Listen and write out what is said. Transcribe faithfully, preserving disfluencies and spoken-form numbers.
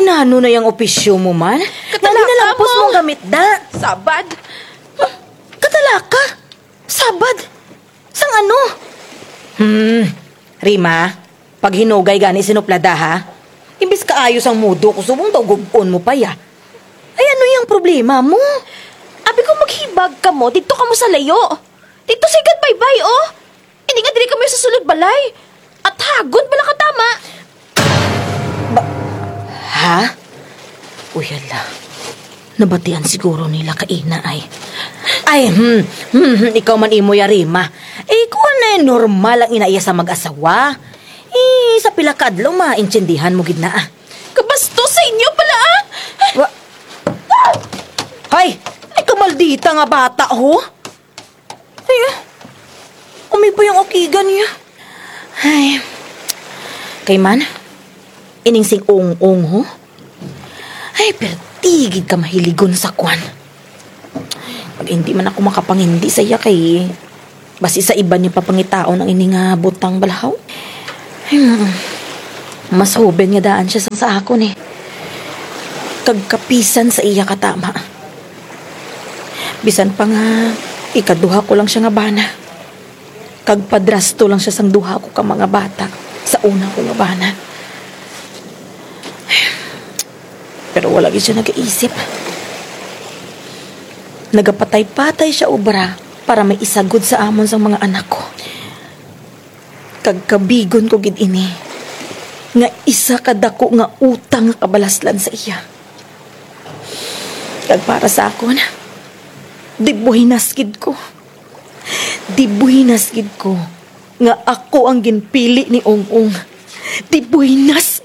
Ano na yang opisyo mo man? Katalaka mo. Nani na lampos mong gamit da? Sabad. Katalaka? Sabad? Sang ano? Hmm. Rima, paghinugay gani sinuplada, ha? Imbis kaayos ang mudo ko, subong daw gub-on mo pa ya. Ay, ano yang problema mo? Abi ko maghibag kamo, didto kamo sa layo. Didto sa higad baybay, o. Ini nga diri kamo sa sulod balay. At hagon bala katama. Ba-, ha? Uy, hala. Nabatian siguro nila kay ina ay. Ay, hmm, hmm, hmm, ikaw man imo ya, Rima. Eh, kuwan na, eh, normal ang ina iya sa mag-asawa. Eh, sa pila ka adlaw, maintindihan mo gid na, ah. Kabastos sa inyo bala, ah! Wa-, hoy! Ay, kamaldita nga bata, ho! Ay, ah. Umi pa yang akigan niya. Ay. Kay man, ining si Ong-ong, ho? Ay, perti gid ka mahiligon sa kwan. Pag hindi man ako makapangindi sa iya kay basi sa iba niya pa pangitaon ang ini nga butang bala, haw. Ay, mm. Mas hoben nga daan siya sang sa akon, eh. Kag kapisan sa iya katama. Bisan pa nga ikaduha ko lang siya nga bana. Kag padrasto lang siya sang duha ko ka mga bata sa una ko nga bana. Pero wala gid siya nagaisip. Nagapatay-patay siya obra para may isagod sa amon sang mga anak ko. Kag kabigon ko gid ini nga isa ka dako nga utang nga kabalaslan sa iya. Kag para sa akon, dibuhinas gid ko. Dibuhinas gid ko nga ako ang ginpili ni Ong-ong. Dibuhinas